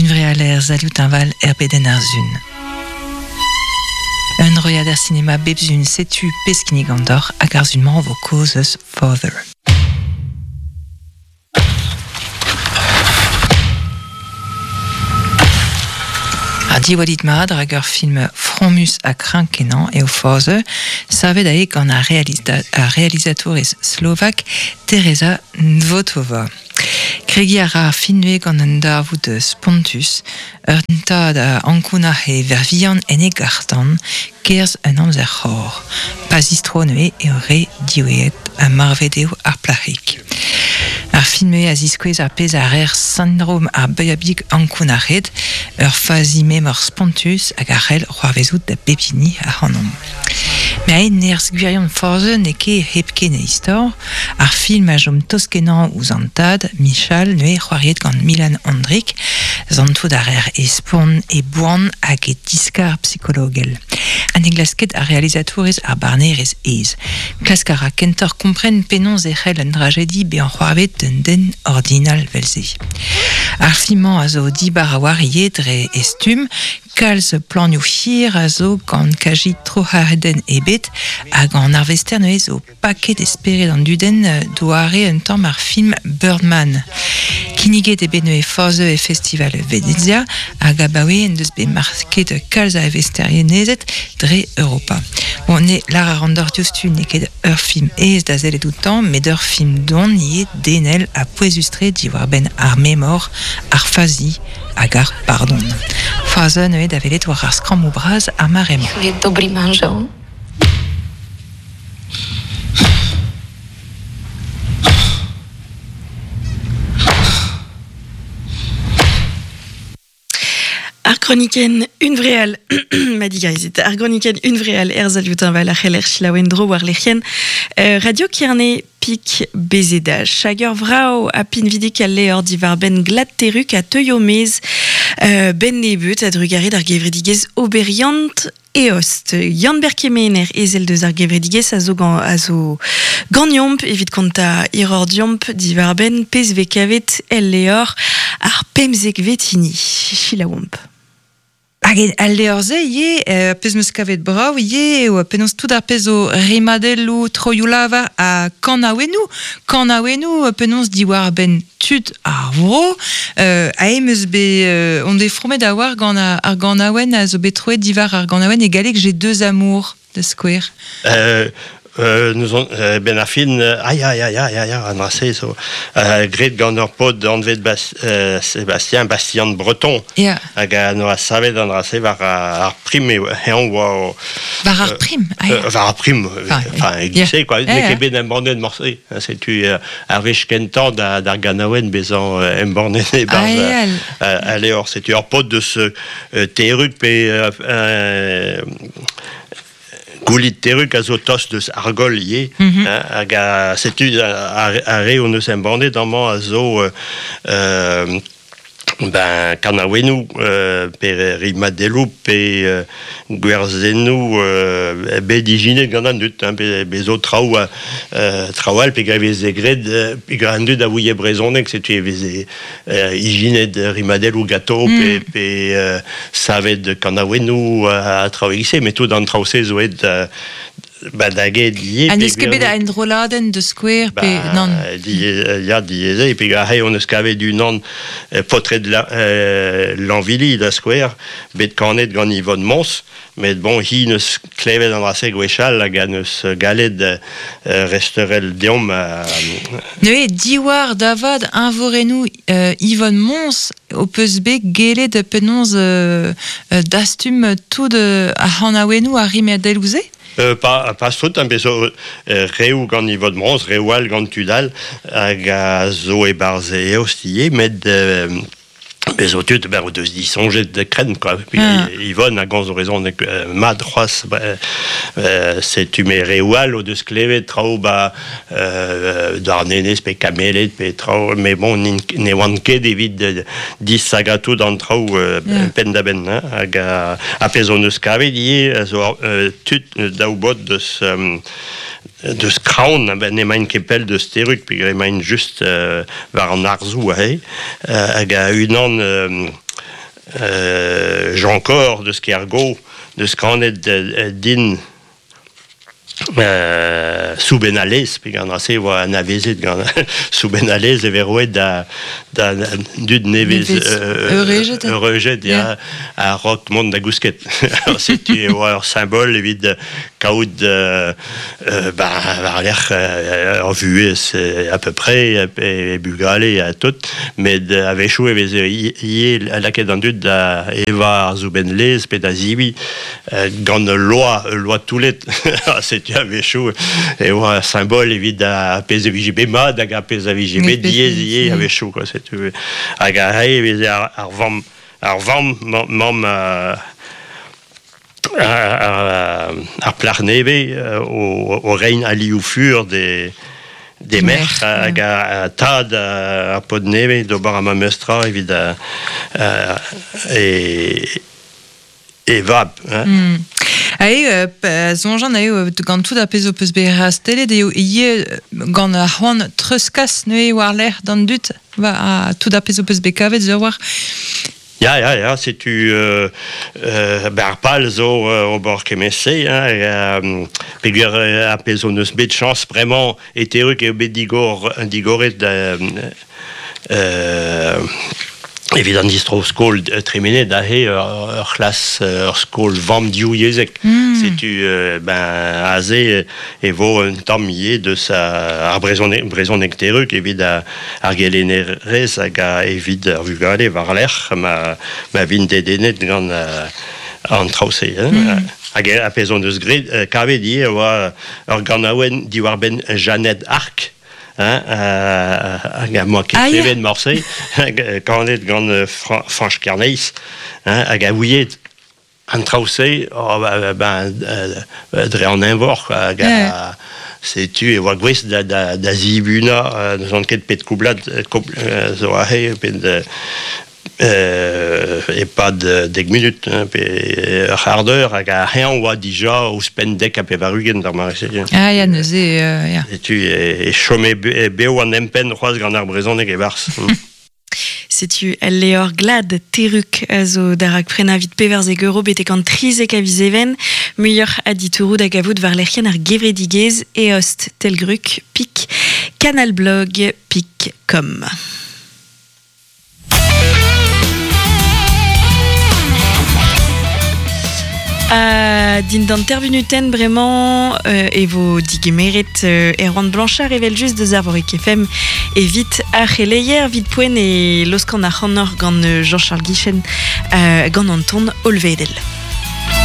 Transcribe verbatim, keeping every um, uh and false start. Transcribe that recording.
Hunvreal er salioù teñval er bedenn ar sun. Un roiad er sinema bep sun setu pezh kinnigan deoc'h hag ar sun-mañ vo kaoz eus Father. Ar diwallit mat rak ur film fromus ha kreñv-kenañ eo Father, savet eo gant ar, realista- ar realizatourez slovak Teresa Nvotová. Kregiñ a ra ar film gant un darvoud spontus, ur tad a ankounac'h e verc'h-vihan en e garr-tan, kerzh un amzer c'hor. Pa zistro neuze eo re diwezhat ha marvet eo ar plac'hig. Ar film a ziskouez ar pezh a reer sindrom ar bugel ankounac'het, ur fazi memor spontus hag a c'hell c'hoarvezout da bep hini ac'hanomp. Met aet nerzh gwirion Father n'eo ket hepken e istor, ar film a chom tost-kenañ ouzh an tad, Michal, neuze c'hoariet gant Milan Ondrik, santout a reer e spont, e boan hag e diskar psikologel. Ha ne glask ket ar realizatourez ar barnerezh aes. Klask a ra kentoc'h kompren penaos e c'hell un drajedi bezañ c'hoarvezet d'un den ordinal 'vel-se. Ar film-mañ a zo dibar a-walc'h ivez dre e stumm, kalz planioù hir a zo gant kazi troc'hadenn ebet hag an arvester neuze zo paket e spered an dudenn doare un tamm ar film Birdman. Kinniget eo bet neuze Father e festival Venezia hag abaoe en deus bet market kalz a arvesterienezed dre Europa. Bon, ne lar a ran deoc'h diouzhtu n'eo ket ur film aes da sellet outañ, met ur film don ivez denel ha pouezus-tre diwar-benn ar memor, ar fazi hag ar pardon. Father neuze da welet war ar skrammoù bras ar mare-mañ. Je dobrý manžel. Ar kronikenn Hunvreal, ma digarezit, ar groniken Hunvreal er salioù teñval a c'heller selaou en-dro war lec'hienn euh, Radio Kerne pik B Z H. Hag ur vrav ha pinvidik al levr diwar-benn glad Terrug a teuio maez euh, benn nebeut a-drugarez d'ar gevredigezh Oberiant Eost. Yann-Ber Kemener ezel deus ar gevredigezh a zo, gant, a zo ganeomp evit kontañ hiroc'h deomp diwar-benn pezh vez kavet el levr ar pemzekvet hini. Selaouomp. Hag al levr-se ivez, euh, pezh 'meus kavet brav ivez, eo penaos tout ar pezh zo rimadelloù, troioù-lavar ha kanaouennoù. Kanaouennoù penaos diwar-benn tud ar vro. Euh, aze 'meus bet euh, on bet fromet a-walc'h gant ar, ar ganaouenn a zo bet troet diwar ar ganaouenn e galleg J'ai deux amours da skouer. Euh, euh, nous on, euh, ben ar fin, euh, ai, ai, ai, ai, ai, an dra-se zo euh, graet gant ur paotr anvet Bas, euh, Sébastien Bastien Breton. Ya. Hag a noa savet an dra-se war ar, ar prim eo eñ oa o, War ar prim, ah, euh, war ar prim, Enfin, enfin, ya. e quoi, Ya, n'eo ya. ket bet embannet morse. Hein, setu euh, ar wech kentañ da, d'ar ganaouenn bezañ euh, embannet e-barzh Ah, ya. euh, al levr. Setu ur paotr deus euh, Terrug pe euh, euh, Goulit Terrug a zo tost deus Argol ivez, Mm -hmm. hein, hag a, setu ar, ar re hon eus embannet amañ a zo euh, euh, ben, kanaouennoù euh, pe rimadelloù pe euh, gwerzennoù euh, bet ijinet gant an dud, hein, pe, be zo traoù euh, traoù all pe veze graet euh, pe gant an dud a ouie brezhoneg, setu e veze euh, ijinet rimadelloù ganto mm. pe, pe euh, savet kanaouennoù a, a traoù e-giz-se, met tout an traoù-se zo aet euh, ba da get ivez. Ha n'eus ket bet a enrolladenn da skouer pe Ba, nann. di, ya, diaes eo, pe aze hon eus kavet unan euh, paotred la, euh, Lanvili da skouer, bet kanet gant Yvonne Mons, met bon, hi neus klevet an dra-se gwechall hag a neus gallet euh, resteurel deomp euh, Neuze diwar davad eñvorennoù euh, Yvonne Mons ho peus bet gellet penaos euh, euh, dastum tout euh, ar c'hanaouennoù ar rimadelloù-se? Euh, pas, pas tout, hein, bet zo euh, reoù gant Yvonne Mons, reoù all gant tud all, hag a zo e-barzh Eost ivez, met euh, bet zo tud, ben, o deus disoñjet de krenn, quoi. Puis, Ah. Yvonne a gomz brezhoneg euh, mat c'hoazh, ba, euh, setu me reoù all o deus klevet traoù ba euh, Douarnenez pe Kameled pe traoù, met bon, n'int- ne oant ket evit euh, distagañ tout an traoù euh, Ya. penn-da-benn, hein, hag a, a pezh hon eus kavet ivez, a zo euh, tud daou baotr deus euh, deus Kraon, ben emaint ket pell deus Terrug, peogwir emaint just euh, war an harzoù aze, euh, hag a unan euh, euh, Jean Cor deus Kergo deus kanet euh, din Euh, soubenalez, pe gant ase oa anavezet gant soubenalez e veroet da, da dud nevez euh, eurejet ya a rok mont da gousket. Setu e oa ur symbol evit kaout euh, euh, ba, war lec'h ur vuhez à peu près e, e bugale a tout, met a-wechoù e veze ie lakaet an dud da eva ar soubenlez pe da zibi gant loa, loa toulet. Setu a-wechoù e oa symbol evit a pezh a vije bet mat hag a pezh a vije bet diaes ivez a-wechoù quoi, setu hag a rae e veze ar, ar vamm ar vamm mamm ar, ar plac'h nevez o, o rein alioù fur de des merc'h hag a tad ar pod nevez d'ober ar mamestra evit a, a, e e vab. Hein. Mm. Ae, euh, soñjan eo gant tout ar pezh o peus bet rastelet eo ivez gant ar c'hoant treuzkas neuze war-lerc'h d'an dud va a, tout ar pezh o peus bet kavet zo war. Ya, ya, ya, setu euh, euh, ben ar pal zo euh, ober kement-se, hein, euh, peogwir ar pezh hon eus bet chañs bremañ e teruk eo bet digor, digoret euh, euh, evit an distro-skol tremenet aze ur, ur c'hlas ur skol vamm div yezhek. Mm. Setu euh, ben aze e vo un tamm ivez deus ar brezhoneg brezhoneg teruk evit ar, ar gelennerez hag a evit ar vugale war-lerc'h ma, ma vint dedennet gant uh, an traoù-se. Hein. Mm. Hag a pezh hon deus graet kavet ivez e oa ur ganaouenn diwar-benn Jeannette Arc. Hein, euh, hag a moa ket Ah, ya. klevet morse, kanet gant Fra- Fañch Kerneis, hein, hag a ouiet an traoù-se, oh, ba, ben, euh, dre an eñvor, quoi, hag a, Yeah. setu e oa gwez da, da, da zibuna, euh, n'eus ket pet koublad, koubl, euh, zo aze, pet euh, e-pad dek minut, hein, pe ur c'hard eur, hag a c'heñv oa dija ouzhpenn dek ha pevar-ugent d'ar mare-se. Ah ya, neuze, euh, ya. Setu e, e chome be, bev an empenn c'hoazh gant ar brezhoneg e-barzh. Setu al leor glad teruk a zo darak prena vit pevarzek euro betek an trizek a viz even, muioc'h a ditouroù da gavout war lec'hienn ar gevredigezh eost telgruk pik canalblog pik com. Uh, dindan tervinuten bremañ euh, e vo digemeret euh, Erwan Blanchard evel just deus ar Vorik F M evit ar c'heleier vit poent e loskan ar c'hannor gant Jean-Charles Guichen euh, gant Anton Olvedel.